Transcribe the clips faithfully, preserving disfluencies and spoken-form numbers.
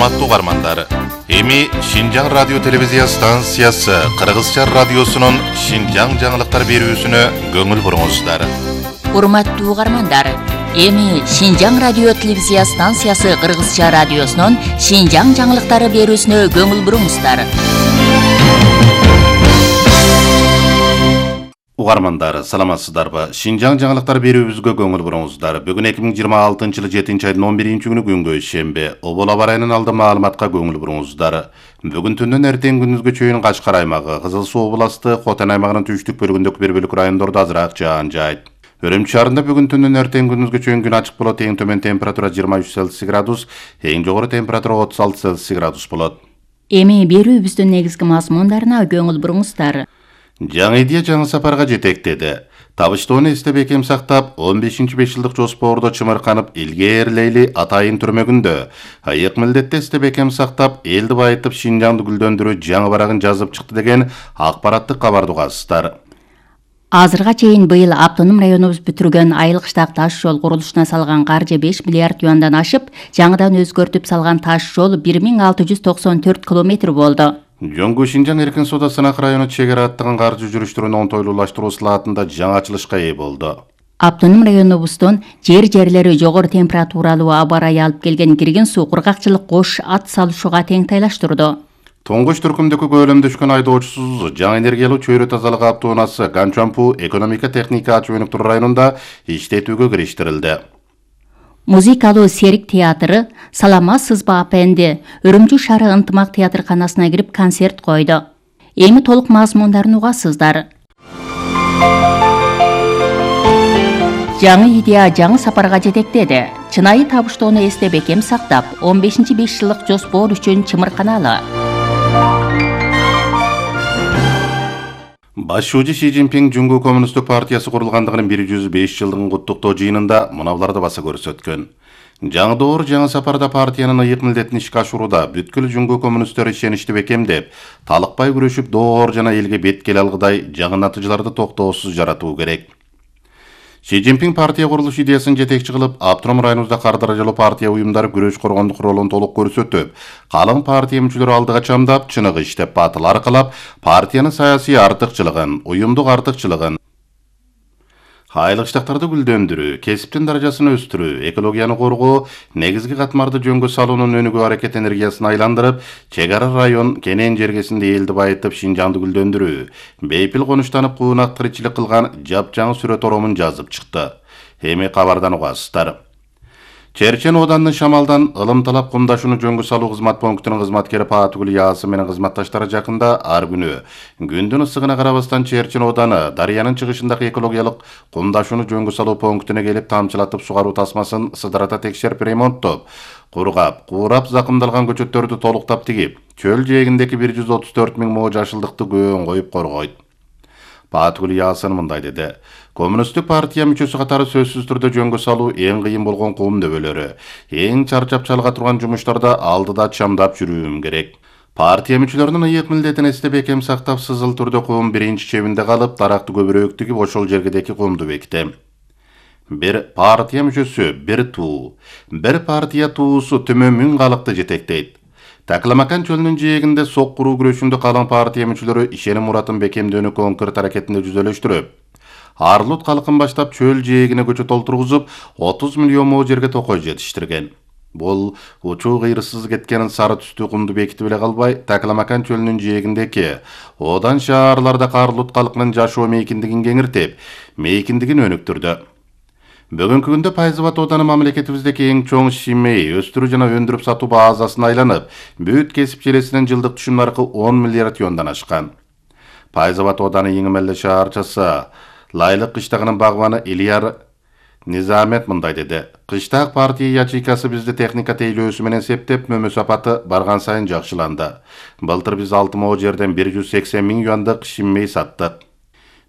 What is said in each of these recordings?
Урматтуу угармандар, эми Шинжаң радио телевизия станциясы Кыргызча радиосунун Шинжаң жаңылыктар берүүсүнө көңүл буруңуздар. Урматтуу угармандар, эми Шинжаң радио телевизия станциясы Кыргызча радиосунун Шинжаң жаңылыктары берүүсүнө көңүл буруңуздар. Угармандар, саламатсыздарбы? Шинжаң жаңылыктар берүүбүзгө көңүл буруңуздар. Бүгүн эки миң жыйырма алтынчы жылы жетинчи айдын он биринчи күнү күнгө шембе. Обол аба ырайынын алды маалыматка көңүл буруңуздар. Бүгүн түндөн эртең күндүзгө чейин Кашкар аймагы, Кызыл Суу областы, Хотан аймагынын түштүк бөлүгүндөгү бир бөлүк райондордо азыраак жаан жаайт. Өрөмчү шаарында бүгүн түндөн эртең күндүзгө чейин күн ачык болот. Эң төмөн температура жыйырма үч Цельсий градус, эң жогору температура отуз алты Цельсий градус болот. Эми берүүбүздүн негизги мазмундарына көңүл буруңуздар. Жаңы идея жаңы сапарга жетектеди. Табыштоону эстеп бекем сактап, он бешинчи беш жылдык жоспордо чымырканып, илгээрлейли атайын түрмөгүндө. Айык милдетте эстеп бекем сактап, элди байытып, Шинжаңды гүлдөндүрүү жаңы барагын жазып чыкты деген акпараттык кабарды угасыздар. Азырга чейин быйыл автоном районубуз бүтүргөн Айыл-Кыштак таш жол курулушуна салган каржы беш миллиард юандан ашып, жаңыдан өзгөртүп салган таш жол бир миң алты жүз токсон төрт километр болду. Жөнгө Шинжаң эркин соода сынак району чегара аттыгын каржы жүрүштөрүн оңтойлуулаштыруу слаатында жаңы ачылышка ээ болду. Автоном районубуздун жер жерлери жогору температуралуу аба ырайы алып келген кирген суу кургакчылык кош ат салышууга тең тайлаштырды. Тоңгоч түркүмдөгү көлөмдөшкөн айдоочусуз жаңы энергиялуу чөйрө тазалык автоунаасы Ганчампу экономика техника ачуу өнүктүрүү районунда иштетүүгө кириштирилди. Музыкалуу Серик театры Салама сызба апенди Өрөмчү шаары ынтымак театрканасына кирип концерт койду. Эми толук мазмундарын угасыздар. Жаңы идея жаңы сапарга жетектеди. Чынайы табыштоону эстеп бекем сактап, он бешинчи беш жылдык жоспор үчүн чымырканалы. Башчы Си Цзиньпин Жуңгу коммунисттик партиясы курулгандыгынын бир жүз беш жылдыгын куттуктоо жыйынында муналарды баса көрсөткөн. Жаңы доор жаңы сапарда партиянын ыйык милдетин ишке ашурууда бүткүл Жуңгу коммунисттери ишеничти бекемдеп, талыкпай күрөшүп, доор жана элге бет келе алгыдай жаңы натыйжаларды токтоосуз жаратуу керек. Си Цзиньпин партия курулуш идеясын жетекчи кылып, автоном районубузда кар даражалуу партия уюмдары күрөш коргондук ролун толук көрсөтүп, калың партия мүчөлөрү алдыга чамдап, чыныгы иштеп, батыл аркылап, партиянын саясий артыкчылыгын, уюмдук артыкчылыгын, Айыл-Кыштактарды гүлдөндүрүү, кесиптин даражасын өстүрүү, экологияны коргоо, негизги катмарды жөнгө салуунун өнүгүү аракет энергиясын айландырып, чек ара район кенен жергесинде элди байытып, Шинжаңды гүлдөндүрүү, бейпил конуштанып куунак тиричилик кылган жапжаңы сүрөт оромун жазып чыкты. Эми кабардан угасыздар. Черчен оодандын Шамалдан ылым талап кумдашууну жөнгө салуу кызмат пунктунун кызматкери Паатгүл Яасы менен кызматташтары жакында ар күнү күндүн ысыгына карабастан Черчен ооданы дарыянын чыгышындагы экологиялык кумдашууну жөнгө салуу пунктуна келип тамчылатып сугаруу тасмасын сыдырата текшерип ремонттоп, кургап, куурап закымдалган көчөттөрдү толуктап тигип, чөл жээгиндеги бир жүз отуз төрт миң мо жашылдыкты көөн коюп коргойт. Паатгүл Яасын мындай деди. Коммунисттик партия мүчөсү катары сөзсүз түрдө жөнгө салуу эң кыйын болгон кум дөбөлөрү, эң чарчап чалга турган жумуштарда алдыда чамдап жүрүүм керек. Партия мүчөлөрүнүн ыйык милдетин эстеп бекем сактап, сызыл түрдө кум биринчи чебинде калып, даракты көбүрөөк тигип, ошол жергедеки кумду бекитем. Бир партия мүчөсү, бир туу, бир партия туусу төмөн миң калыкты жетектейт. Такламакан чөлүнүн жээгинде сок куруу күрөшүндө калың партия мүчөлөрү ишеним муратын бекемдөөнү конкрет аракетинде жүзөлөштүрүп, Арлут калкын баштап чөл жээгине көчөт толтургузуп, отуз миллион мо жерге токой жетиштирген. Бул учуу кыйрысыз кеткен сары түстүү кумду бекитип эле калбай, Такламакан чөлүнүн жээгиндеки одан шаарларда Арлут калкынын жашоо мейкиндигин кеңиртип, мейкиндигин өнүктүрдү. Бүгүнкү күндө Пайзыбат ооданы мамлекетибиздеки эң чоң шимей, өстүрүү жана өндүрүп сатуу базасына айланып, бүт кесип желесинен жылдык түшүм наркы он миллиард юандан ашкан. Пайзыбат ооданы Эңимелде шаарчасы Лайлык кыштагынын багбаны Ильяр Низамет мындай деди. Кыштак партия ячейкасы бизди техника тейлөөсү менен септеп, мөмө сапаты барган сайын жакшыланды. Былтыр биз алты мо жерден бир жүз сексен миң юандык шиммей саттык.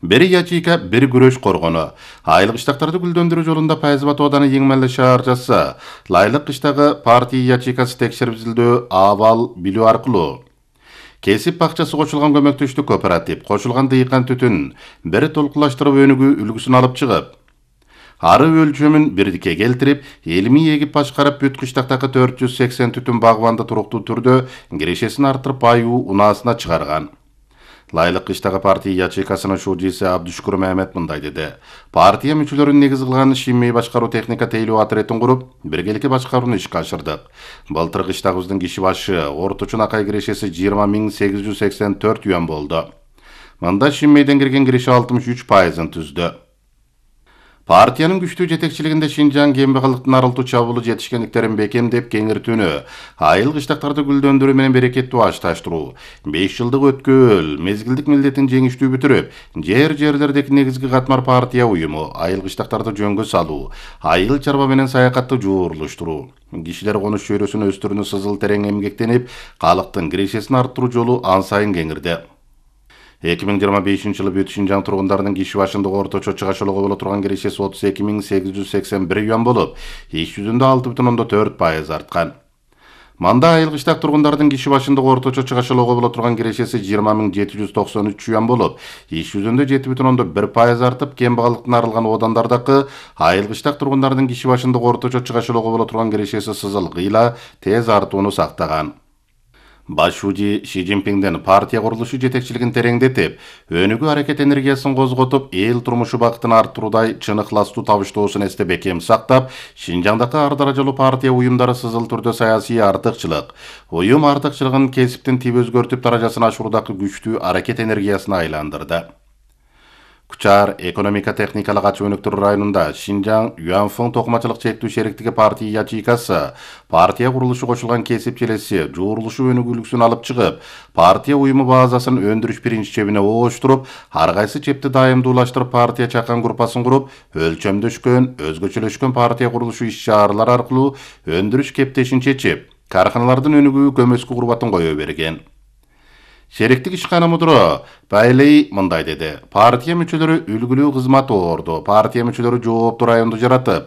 Бир ячейка, бир күрөш коргону. Айыл-Кыштактарды гүлдөндүрүү жолунда Пайзыбат ооданы Эңимелде шаарчасы Лайлык кыштагы партия ячейкасы текшерилдөө абал билүү аркылуу кесип бакчасы кошулган көмөктөштүк кооператив, кошулган дыйкан түтүн бир толкулаштырып өнүгүү үлгүсүн алып чыгып, ары өлчөмүн бирдикке келтирип, элми эгип башкарып бүт кыштактагы төрт жүз сексен түтүн багбанды туруктуу түрдө кирешесин арттырып аюу унаасына чыгарган. Лайлык кыштагы партия ячейкасынын шужиси Абдушкур Мehmet мындай деди. Партия мүчөлөрүн негиз кылган Шимей башкаруу техника тейлөө отрядын куруп, биргеликте башкарууну ишке ашырдык. Былтыр кыштагыбыздын киши башы орточо акай кирешеси жыйырма миң сегиз жүз сексен төрт юан болду. Мында Шимейден кирген киреше алтымыш үч пайызын түздү. Партиянын күчтүү жетекчилигинде Шинжаң кембагалыктын арылтуу чабуулу жетишкендиктерин бекемдеп кеңиртүүнү, айыл кыштактарды гүлдөндүрүү менен берекеттүү ашташтыруу, беш жылдык өткөөл, мезгилдик милдетин жеңиштүү бүтүрүп, жер-жерлердеги негизги катмар партия уюму, айыл кыштактарды жөнгө салуу, айыл чарба менен саякатты жуурлуштуруу, кишилер конуш чөйрөсүн өстүрүүнү сызыл терең эмгектенип, калктын кирешесин арттыруу жолу ан сайын кеңирди. эки миң жыйырма бешинчи жылы бүт Шинжаң тургундарынын киши башындагы орточо чыгашылыгы боло турган кирешеси отуз эки миң сегиз жүз сексен бир юан болуп, иш жүзүндө алты бүтүн ондон төрт пайыз арткан. Манда айыл кыштак тургундардын киши башындагы орточо чыгашылыгы боло турган кирешеси жыйырма миң жети жүз токсон үч юан болуп, иш жүзүндө жети бүтүн ондон бир пайыз артып, кембагалыктан арылган оодандардагы айыл кыштак тургундардын киши башындагы орточо чыгашылыгы боло турган кирешеси сызыл кыйла тез артууну сактаган. Баш шужи Ши Цзиньпиңден партия курулушу жетекчилигин тереңдетип, өнүгүү аракет энергиясын козготуп, эл турмушу бактын арттыруудай чын ыхластуу табыштоосун эсте бекем сактап, Шинжаңдагы ар даражалуу партия уюмдары сызыл түрдө саясий артыкчылык, уюм артыкчылыгын кесиптин тип өзгөртүп даражасын ашыруудагы күчтүү аракет энергиясына айландырды. Кучар экономика техникалык ачык өнүктүрүү районунда Шинжаң Юанфeng токумачылык чектүү шериктиги партия ячейкасы, партия курулушу кошулган кесип челеси жуурулушу өнүгүүлүксүн алып чыгып, партия уюму базасын өндүрүш принцибине ооштуруп, ар кайсы чепти дайымдуулаштырып партия чакан группасын куруп, өлчөмдөшкөн, өзгөчөлөшкөн партия курулушу иш-чаралар аркылуу өндүрүш кептешин чечип, карханалардын өнүгүү көмөскү курбатын кое берген. Шериктик ишкана мудуру Байлей мындай деди. Партия мүчөлөрү үлгүлүү кызмат оорду. Партия мүчөлөрү жооптуу районду жаратып,